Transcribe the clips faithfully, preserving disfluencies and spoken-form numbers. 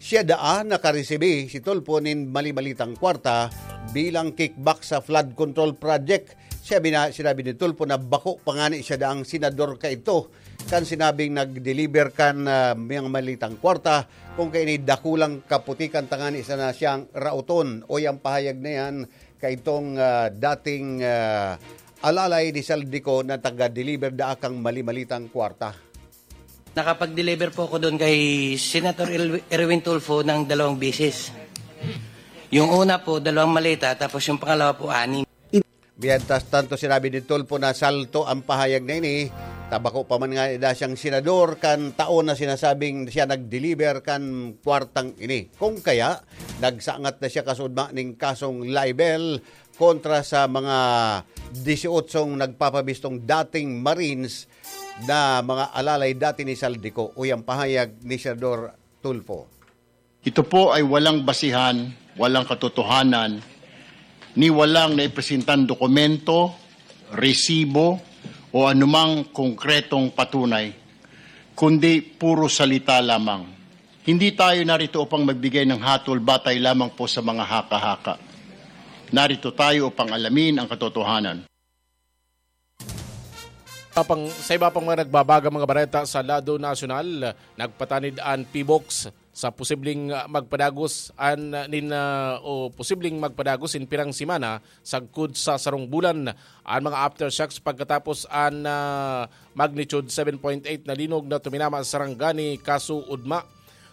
Siya daa nakaresibi si Tulfo nin mali-malitang kwarta bilang kickback sa flood control project. Siya bina-, sinabi ni Tulfo na bako pa ngani siya daang senador kaidto kan sinabing nag-deliver kan, ah, miyang malitang kwarta, kung kaini dakulang kaputikan tangani sana siyang raoton. O yang pahayag na yan, kaitong, ah, dating, ah, alalay ni Zaldy Co na taga-deliver daa kang mali-malitang kwarta. Nakapag-deliver po ako doon kay Senator El-, Erwin Tulfo ng dalawang beses. Yung una po, dalawang maleta, tapos yung pangalawa po, anim. Mientras tanto, sinabi ni Tulfo na salto ang pahayag na ini. Ta bako pa man ngani daa siyang senador kan taon na sinasabing siya nag-deliver kan kwartang ini. Kung kaya, nagsangat na siya kasudma ning kasong libel kontra sa mga disyotso nagpapabistong dating Marines na mga alalay dati ni Zaldy Co, o yang pahayag ni Senador Tulfo. Ito po ay walang basihan, walang katotohanan, ni walang naipresentang dokumento, resibo, o anumang konkretong patunay, kundi puro salita lamang. Hindi tayo narito upang magbigay ng hatol batay lamang po sa mga haka-haka. Narito tayo upang alamin ang katotohanan. Sa pang-, sa iba pang mga nagbabagang mga bareta sa lado nasyonal, nagpatanid an PHIVOLCS sa posibleng, ah, magpadagos an, ah, nin, ah, o posibleng magpadagos nin pirang semana sagkod sa sarong bulan an mga aftershocks pagkatapos an, ah, magnitude seven point eight na linog na tuminama sa Sarangani, Casuudma.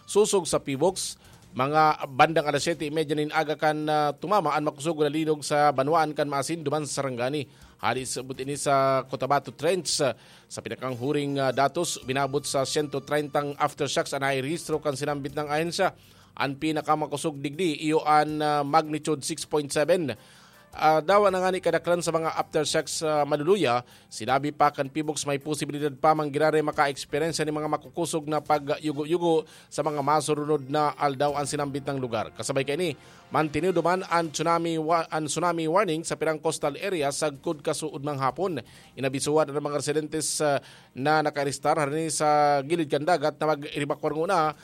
Sosog sa PHIVOLCS, mga bandang alas siyete y media nin aga kan, ah, tumama an makusugon na linog sa banwaan kan Maasin duman sa Sarangani. Hali sabot ini sa Cotabato Trench, ah, sa pinakanghuring, ah, datos, uminabot sa sento treintang aftershocks an nairehistro kan sinambit na ahensya. An pinakamakosog digdi iyo an, ah, magnitude six point seven. Ah, dawa na ngani kadaklan sa mga aftershocks sa maluluya, sinabi pa kan PHIVOLCS may posibilidad pa man giraray maka-eksperyensya nin mga makukosog na pagyugo-yugo sa mga masurunod na aldaw an sinambit na lugar. Kasabay kaini, mantinido man an tsunami wa-, an tsunami warning sa pirang coastal area sagkod Casuudma hapon. Inabisuhan an mga residentes, ah, na nakarestar harani sa gilid kan dagat na mag-ebakwar nguna,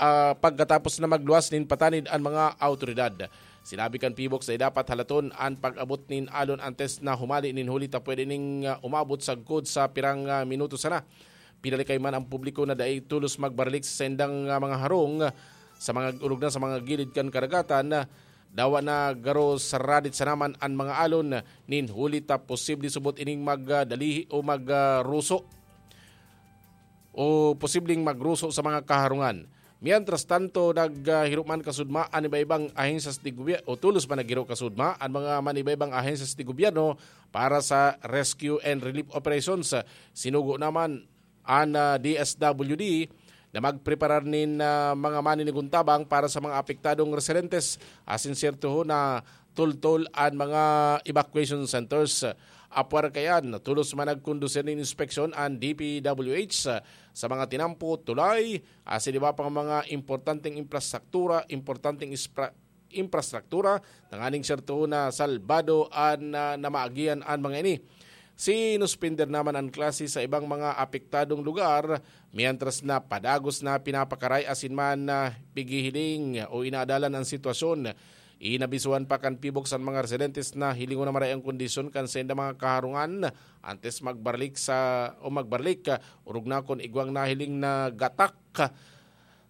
ah, pagkatapos na magluwas nin patanid an mga awtoridad. Sinabi kan PHIVOLCS na dapat halaton an pag-abot nin alon antes na humali nin huli ta pwede ning, ah, umabot sagkod sa pirang, ah, minuto sana. Pinalikay man ang publiko na dai tolos magbaralik sa saindang, ah, mga harong sa mga orog na sa mga gilid kan karagatan. Dawa na garo saradit sana man an mga alon nin huli ta posible subot ining magdalihi o magruso o posibleng magruso sa mga kaharungan. Mientras tanto, naghiro man kasudma an iba-ibang ahensyas de gobyerno o tolos pa naghiro kasudma an mga man iba-ibang ahensyas de gobyerno para sa rescue and relief operations. Sinugo naman an, ah, D S W D na magpreparar nin, ah, mga maninigon tabang para sa mga apektadong residentes asin siyerto na tultol an mga evacuation centers. Apwera kaiyan, tolos man nagkondusir nin inspeksyon an D P W H sa mga tinampo, tulay, asin iba pang mga importanteng infrastruktura, importanteng ispra-, infrastruktura, tanganing siyerto na salbado an, ah, na maagihan an mga ini. Sinuspender naman an klase sa ibang mga apektadong lugar, mientras na padagos na pinapakaray asin man na pighihiling o inaadalan an sitwasyon. Inabisuhan pa kan PHIVOLCS an mga residentes na hilingon na maray ang kondisyon kan saindang mga kaharungan antes magbalik sa, o magbalik, orog na kun igwang nahiling na gatak,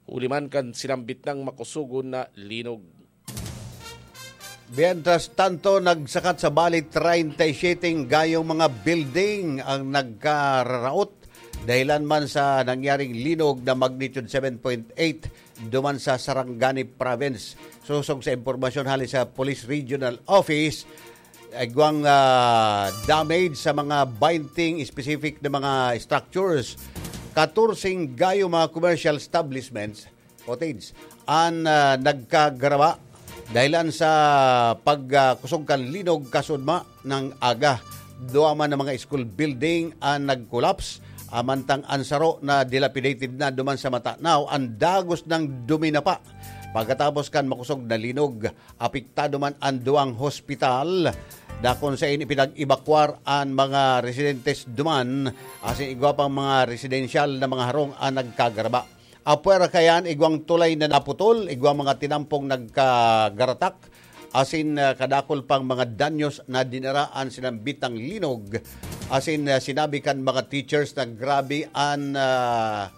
huli man kan sinambit na makusugon na linog. Mientras tanto, nagsakat sa bali treinta y siete gayong mga building ang nagkararaot dahilan man sa nangyaring linog na magnitude seven point eight duman sa Sarangani Province. Sosog sa impormasyon hali sa Police Regional Office, igwang, ah, damage sa mga baynte specific na mga structures. Katorseng gayo mga commercial establishments, cottage, an, ah, nagkagaraba dahilan sa pag, ah, kusog kan linog kasudma ng aga. Duwa man na mga school building an nag-collapse, ah, mantang an saro na dilapidated na duman sa matanaw an dagos nang duminapa. Pagkatapos kan makusog na linog, apektado man an duwang hospital na kun sain ipinag-ebakwar an mga residentes duman, asin igwa pang mga residensyal na mga harong an nagkagaraba. Apwera kayan, igwang tulay na naputol, igwang mga tinampong nagkagaratak, asin, ah, kadakul pang mga danyos na dinara an sinambitang linog, asin, ah, sinabi kan mga teachers na grabe an, ah,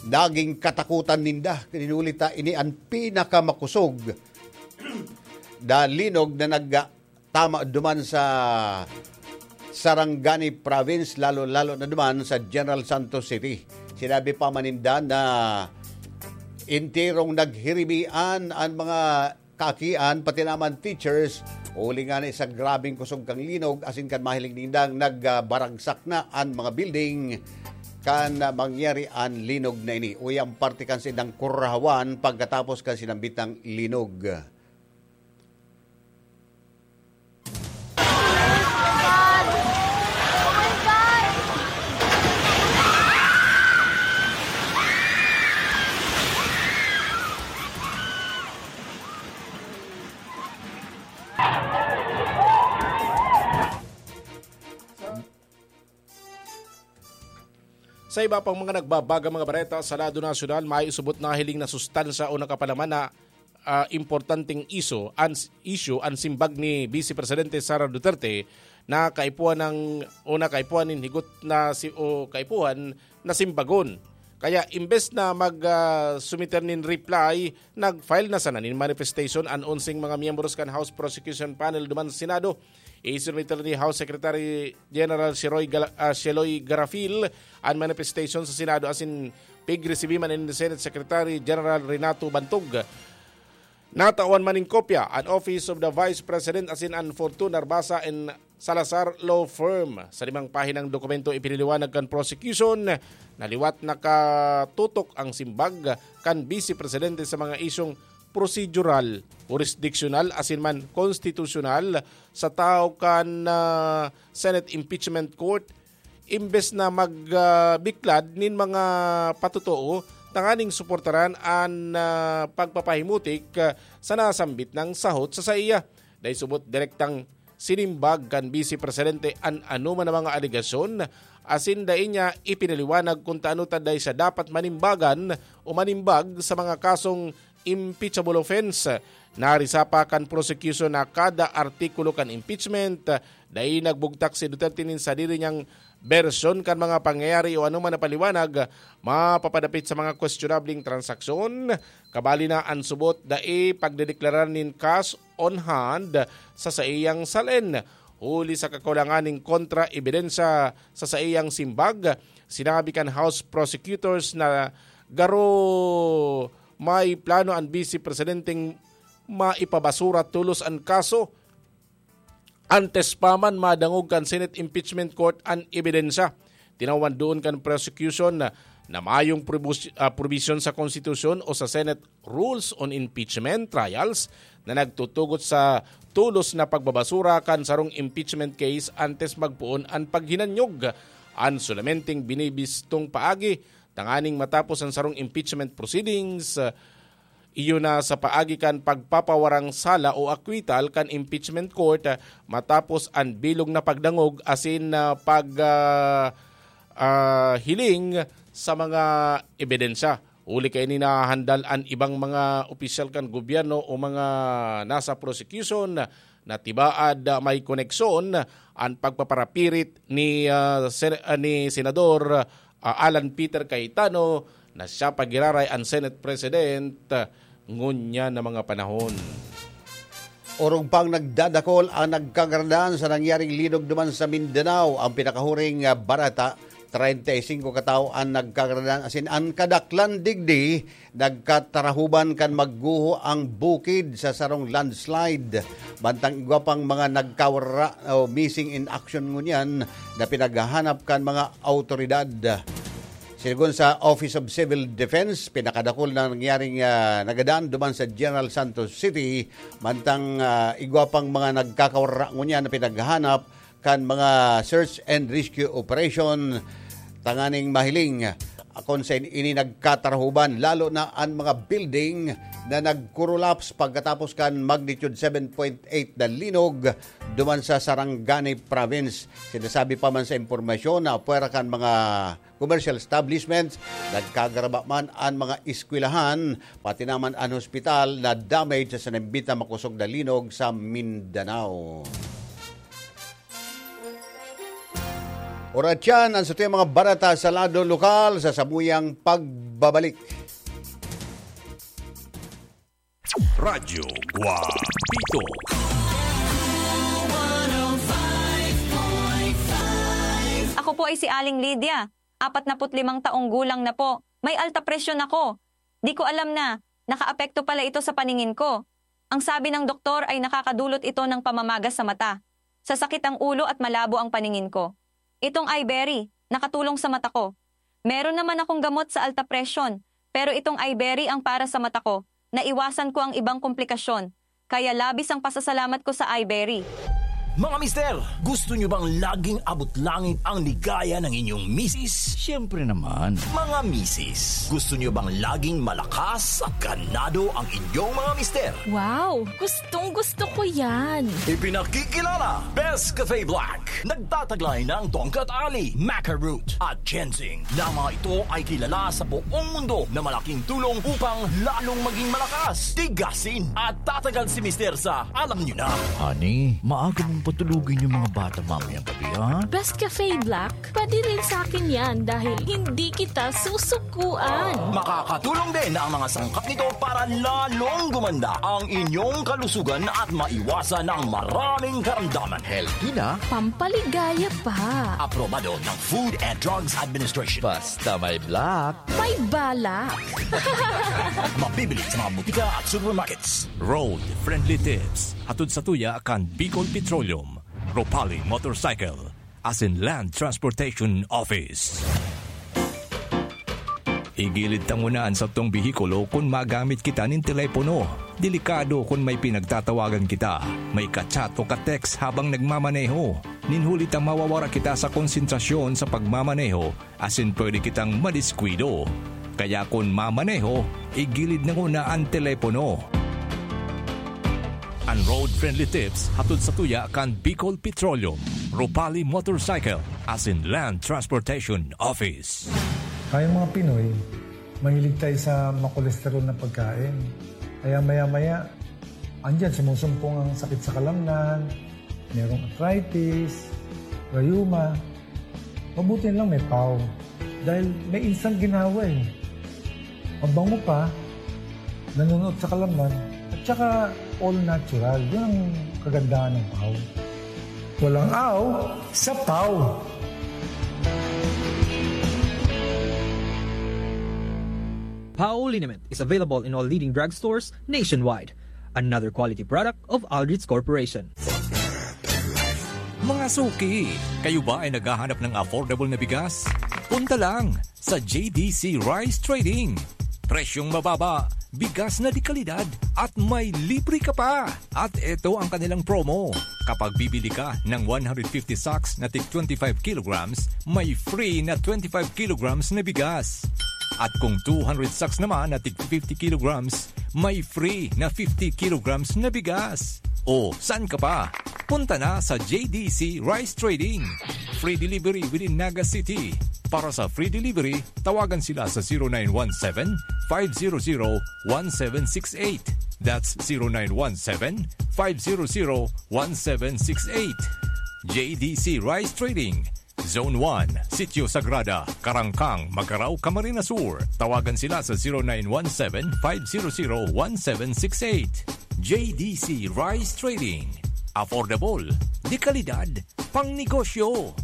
naging katakutan ninda. Huli ta ini an pinakamakosog na linog na nagtama duman sa Sarangani Province, lalo-lalo na duman sa General Santos City. Sinabi pa man ninda na enterong naghiribian an mga kaakian, pati naman teachers, huli ngani sa grabeng kusog kan linog, asin kan mahiling nindang nagbaragsak na an mga building kan mangyari an linog na ini. Uya an parte kan saindang kurahawan pagkatapos kan sinambitang linog. Sa iba pang mga nagbabagang mga bareta sa lado nasyonal, may subot na hiling na sustansya o nakapalaman na, ah, importanteng iso, an, issue an simbag ni Vice Presidente Sara Duterte na kaipuhan ng, o na kaipuhan nin higot na si, o kaipuhan na simbagon. Kaya imbes na mag, ah, sumiter nin reply, nag-file na sana nin manifestation an onseng mga miyembros kan House Prosecution Panel duman sa Senado. Isinumiter ni House Secretary General Sheroy Gala-, ah, Sheloy Garafil an manifestation sa Senado asin pigresibi man ni Senate Secretary General Renato Bantog. Natawan man nin kopya an Office of the Vice President asin an Fortuna Arbasa and Salazar Law Firm. Sa limang pahinang dokumento ipinaliwanag kan prosecution na liwat nakatutok ang simbag kan Vice Presidente sa mga isyung prosedural, jurisdictional asin man konstitusyonal sa tahaw kan, ah, Senate Impeachment Court, imbes na mag, ah, biklad nin mga patotoo tanganing suportaran an, ah, pagpapahimutik, ah, sa nasambit nang sahot sa saiya. Dai subot direktang sinimbag kan Vice Presidente an anoman na mga alegasyon, asin dai niya ipinaliwanag kun tano ta dai siya dapat manimbagan o manimbag sa mga kasong impeachable offense. Narisa pa kan prosecution na kada artikulo kan impeachment, dai nagbugtak si Duterte nin sadiri niyang bersyon kan mga pangyayari o anoman na paliwanag mapapadapit sa mga kwestionableng transaksyon. Kabali na an subot, dai pagdedeklarar nin cash on hand sa saiyang salen. Huli sa kakulangan nin kontra-ebidensya sa saiyang simbag, sinabi kan House prosecutors na garo may plano an Vice Presidenteng maipabasura tolos an kaso antes pa man madangog kan Senate Impeachment Court an ebidensya. Tinawan doon kan prosecution na, na mayong probus-, ah, probisyon sa konstitusyon o sa Senate Rules on Impeachment Trials na nagtutugot sa tolos na pagbabasura kan sarong impeachment case antes magpoon an paghinanyog. An sulamenteng binibistong paagi tanganing matapos an sarong impeachment proceedings, ah, iyo na sa paagi kan pagpapawarang sala o acquittal kan impeachment court, ah, matapos an bilog na pagdangog asin, ah, pag, ah, ah, hiling sa mga ebidensya. Huli kaini nahahandal an ibang mga opisyal kan gobyerno o mga nasa prosecution na tibaad, ah, may koneksyon an pagpaparapirit ni, ah, Sen-, ah, ni Senador, ah, Alan Peter Cayetano na siya pa giraray an Senate President, ah, ngunyan na mga panahon. Orog pang nagdadakol ang nagkagaradan sa nangyaring linog duman sa Mindanao. Ang pinakahuring, ah, bareta, treinta y cinco katawo an nagkagaradan, asin an kadaklan digdi nagkatarahuban kan magguho ang bukid sa sarong landslide. Mantang igwa pang mga nagkawara o missing in action ngunyan na pinaghahanap kan mga awtoridad. Sigon sa Office of Civil Defense, pinakadakul na nangyaring, ah, nagadan duman sa General Santos City, mantang, ah, igwa pang mga nagkakawara ngunyan na pinaghahanap kan mga search and rescue operation tanganing mahiling kun saen ini nagkatarahuban, lalo na an mga building na nagkurulaps pagkatapos kan magnitude seven point eight na linog duman sa Sarangani Province. Sinasabi pa man sa impormasyon na pwera kan mga commercial establishments, nagkagaraba man an mga eskwelahan, pati naman an hospital na damage sa sinambit na makosog na linog sa Mindanao. Oratyan, ang satuyang mga bareta sa lado lokal sa samuyang pagbabalik. Radyo Guapito. Ako po ay si Aling Lydia, apat na put limang taong gulang na po. May alta presyon ako. Di ko alam na nakaapekto pala ito sa paningin ko. Ang sabi ng doktor ay nakakadulot ito ng pamamaga sa mata. Sasakit ang ulo at malabo ang paningin ko. Itong Iberry, nakatulong sa mata ko. Meron naman akong gamot sa alta presyon, pero itong Iberry ang para sa mata ko. Naiwasan ko ang ibang komplikasyon. Kaya labis ang pasasalamat ko sa Iberry. Mga mister, gusto nyo bang laging abot langit ang ligaya ng inyong misis? Siyempre naman. Mga misis, gusto nyo bang laging malakas at ganado ang inyong mga mister? Wow! Gustong gusto ko yan! Ipinakikilala, Best Cafe Black. Nagtataglay ng tongkat ali, maca root, at ginseng, na mga ito ay kilala sa buong mundo na malaking tulong upang lalong maging malakas, tigasin, at tatagal si Mister sa alam nyo na. Honey, maaga mong patulugin yung mga bata mamayang gabi, ha? Best Cafe Black, pwede rin sa akin yan dahil hindi kita susukuan. Makakatulong din ang mga sangkap nito para lalong gumanda ang inyong kalusugan at maiwasan ang maraming karamdaman. Healthy na, pampaligaya pa. Aprobado ng Food and Drugs Administration. Basta may black, may balak. Mabibili sa mga butika at supermarkets. Road Friendly Tips, hatod sa tuya kan Bicol Petroleum, Ropali Motorcycle, asin Land Transportation Office. Igilid ta nguna an satong behikulo kun magamit kita nin telepono. Delikado kun may pinagtatawagan kita, may ka-chat o ka-text habang nagmamaneho. Nin huli ta mawawara kita sa konsentrasyon sa pagmamaneho asin pwede kitang madiskuido. Kaya kun mamaneho, igilid na nguna an telepono. An road-friendly tips hatod sa tuya kan Bicol Petroleum, Ropali Motorcycle, asin Land Transportation Office. Tayong mga Pinoy, mahilig tayo sa makolesterol na pagkain. Kaya maya-maya, andyan, sumusumpong ang sakit sa kalamnan, merong arthritis, rayuma. Mabuti lang may pau. Dahil may instant ginawa eh. Mabango pa, nanunuot sa kalamnan, at saka all natural. Yun ang kagandahan ng pau. Walang aw sa pau. Pau liniment is available in all leading drugstores nationwide. Another quality product of Aldrich Corporation. Mga suki, kayo ba ay naghahanap ng affordable na bigas? Punta lang sa J D C Rice Trading. Presyong mababa, bigas na de kalidad, at may libre ka pa! At eto ang kanilang promo. Kapag bibili ka ng one hundred fifty sacks na tig twenty-five kilograms, may free na twenty-five kilograms na bigas. At kung two hundred sacks naman na tig fifty kilograms, may free na fifty kilograms na bigas. O, saan ka pa? Punta na sa J D C Rice Trading. Free delivery within Naga City. Para sa free delivery, tawagan sila sa zero nine one seven, five zero zero, one seven six eight. That's zero nine one seven, five zero zero, one seven six eight. J D C Rice Trading, Zone one, Sitio Sagrada, Carangcang, Magarao, Camarines Sur. Tawagan sila sa zero nine one seven, five zero zero, one seven six eight. J D C Rice Trading. Affordable, de kalidad, pang negosyo.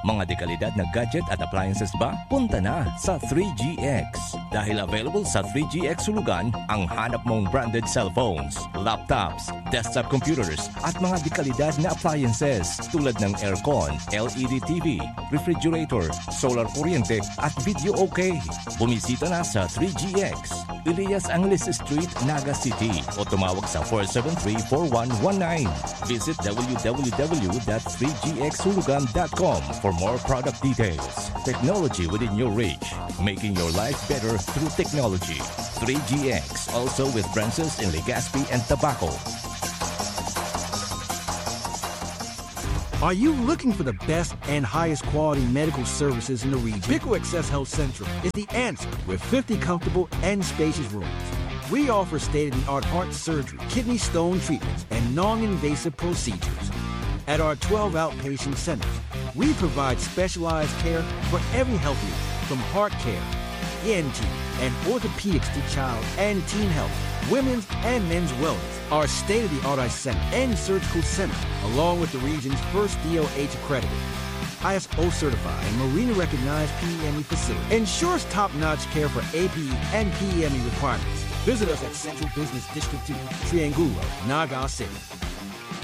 Mga dekalidad na gadget at appliances ba? Punta na sa three G X. Dahil available sa three G X Hulugan ang hanap mong branded cellphones, laptops, desktop computers, at mga dekalidad na appliances tulad ng aircon, L E D T V, refrigerator, solar kuryente, at video okay. Bumisita na sa three G X, Elias Angeles Street, Naga City, o tumawag sa four seven three, four one one nine. Visit W W W dot three G X hulugan dot com for more product details. Technology within your reach, making your life better through technology. Three G X, also with branches in Legazpi and Tabaco. Are you looking for the best and highest quality medical services in the region? Pico Access Health Central is the answer with fifty comfortable and spacious rooms. We offer state-of-the-art heart surgery, kidney stone treatments, and non-invasive procedures. At our twelve outpatient centers, we provide specialized care for every health need, from heart care, E N T, and orthopedics to child and teen health, women's and men's wellness. Our state-of-the-art eye center and surgical center, along with the region's first D O H accredited, I S O certified, and Marina recognized P E M E facility, ensures top-notch care for A P E and P E M E requirements. Visit us at Central Business District two, Triangulo, Naga City.